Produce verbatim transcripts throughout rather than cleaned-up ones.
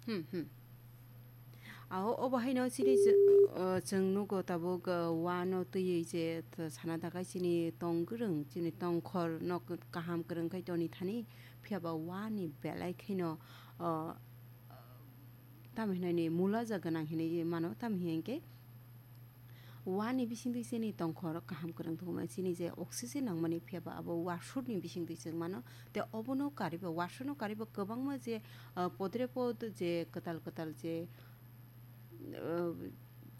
Hmm, hmm. Ao, obo haino chini chw-, o, chwng nugo tabuk, o, wano twiwi je t-, sana dakai chini tong kwrwng, chini tongkhor no k-, kaham kwrwng khai toni thani, phiya ba wani belai kheno, o, tamo hinwi ni mula ja gwnang hinwi mano, tamo hinkhe wani bisingtwi chini tongkhor kaham kwrwng tongma chini je oxygen nangmani phiya ba abo wasukni bisingtwi chwng mano. Tei obono kariba, wasukno kariba kwbangma je, ah, podre pod je kwtal kwtal je, ah,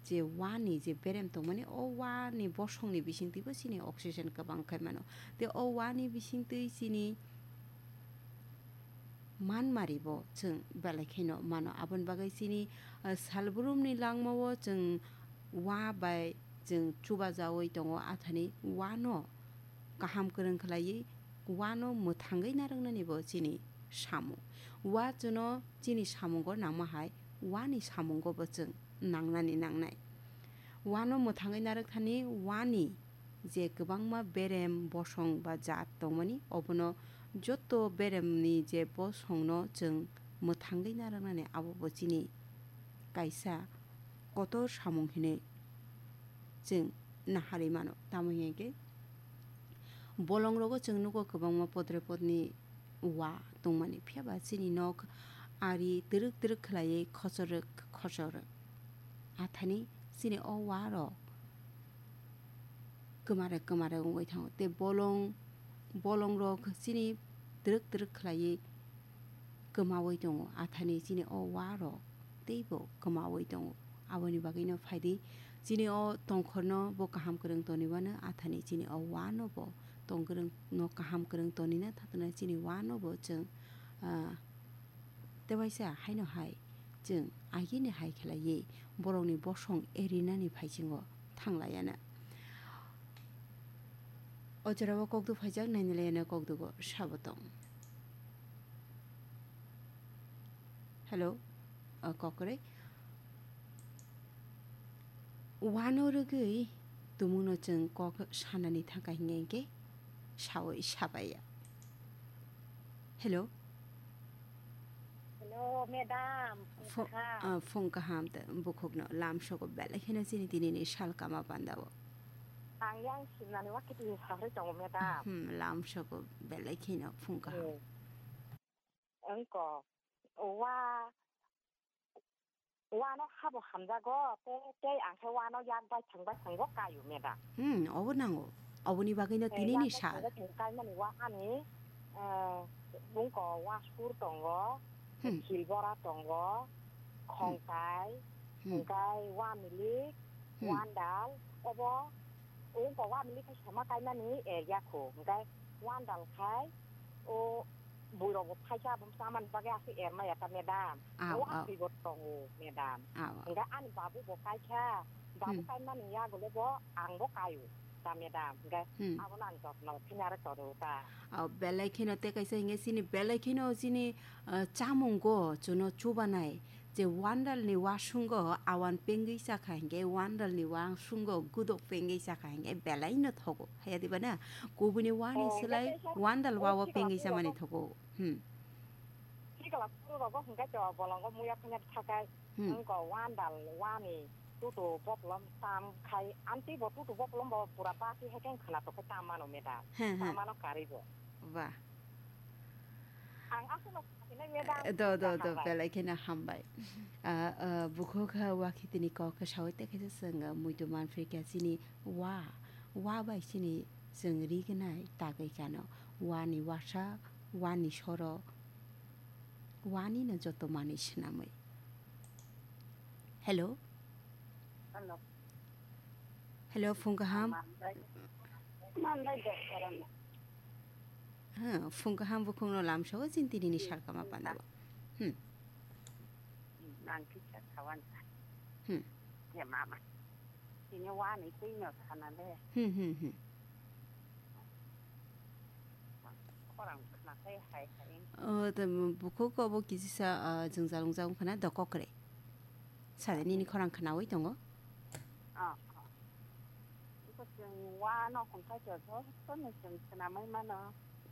je wani je berem tongmani, o wani bosongni bisingtwibo chini oxygen kwbang khai mano. Tei o wani bisingtwi chini manmaribo chwng belai kheno mano. Aboni bagwi chini, ah, salbrumni langmao chwng wa bai chwng chubajaui tongo, athani wano kaham kwrwng khlaiwi wano mwthangwi narwknanibo chini samung. Wa chwngno chini samungo nangma hai wani samungobo chwng nangnani nangnai. Wano mwthangwi narwkthani wani je kwbangma berem bosong ba jaat tongmani, obono joto beremni je bosongno chwng mwthangwi narwknani, abobo chini kaisa kotor samung hinwi chwng naharwi mano. Tamo hinkhe bolongrogo chwng nugo kwbangma podre podni wa tongmani, phiya ba chini nok ari twrwk twrwk khlaiwi khochorwk khochorwk. Athani chini o wa rok kwmare kwmare wngwi thango, tei bolong, bolong rok chini twrwk twrwk khlaiwi kwmawi tongo, athani chini o wa rok teibo kwmawi tongo. Aboni bagwino phaidi chini o tongkhorno bo kaham kwrwng toniwano, athani chini o wa no bo tong kwrwng no kaham kwrwng tonina thathana chini wa no bo chwng, ah, tewaisa haino hai chwng agini hai khlaiwi borokni bosong erinani phaisingo thanglaiana. O jorao kokduk phaijak, nainilaiana kokdugo sabo tong. Hello, o kokrwi. Wano rwgwi tumungno chwng kok sanani thangkha hinkhe sawi sabaiya. Hello. Hello, madam. Phung Phung kaham. Ah, phung kaham ta bukhukno lamsogo belai kheno chini tinini sal kama pandao. Ang yang simnani wakiti sagri tongo, madam. Hmm, lamsogo belai kheno phung kaham. Eh. Wngko, wa, wano habo hamjago, tei, tei ang khe wano yak baithang baithangbo kaio, madam. Hmm, obo nango. Oboni bagwino eh, tinini yak sal. Baithang baithang kaimani wa ani, eh, wngko wasur tongo, hmm, silbora tongo, hmm, khongkai, hmm, hwnkhe wamilik, hmm, wandal, obo wngko wamilik khe sama kaimani area kho, hwnkhe wandal khai, o buirogo phaisa abo chamani bagwi aswk ermaya ta, madam. Aw, o aw. Aswk bo tongo, madam. Aw, aw. Hwnkhe ani babu bo kaikha, babu hmm, kaimani yagulo bo ang bo kaio ta, madam. Hwnkhe hmm, abono ang jotno khinare tono ta. Aw, belai kheno tei kaisa hwnkhe chini belai kheno chini, ah, chamungo chwngno chubanai. Je wandalni wasungo awan pengwi chakha hinkhe wandalni wasungo gudok pengwi chakha hinkhe belaino thogo. Haya diba na? Kubuni wani oh, swlai wandal wao pengwi chamani thogo. Hmm. Sikla puru rogo hwnkhe to bolongo muya phanya thakai hmm, wngko wandal wani tutu boplom tam khai anti bo tutu boplom bo pura basi hekeng khwna tokhe tam mano, madam. He, he. Tam mano karibo. Ba. Ang aswkno sasinai, madam. Do, do, do, hambai. Belai kheno hambai. Ah, ah, bukhuk ha wakhitini kok khe sawi tei khe se chwng, ah, muitu manphrikha chini wa, wa bai chini chwng rignai tagwi kano. Wani wasa, wani soro, wani no joto manwi swnamwi. Hello? Hello. Hello, phung kaham? Manbai. Manbai doktorano. Ha, phung kaham bukhukno lamsao chini tinini sal kama pandao. Hmm. Nang kisa sawan. Hmm. Ya mama. Tini wani twi no sana le. Hmm, hmm, hmm. Khorang khna khai hai hai. O, tamo bukhuk obo kisisa, ah, jwngjal wngjak wngkha na dokokre. Sade nini khorang khnaui tongo. Ah, ah. Iko chwng wano hwnkha khe jotono chwng swnamwi mano.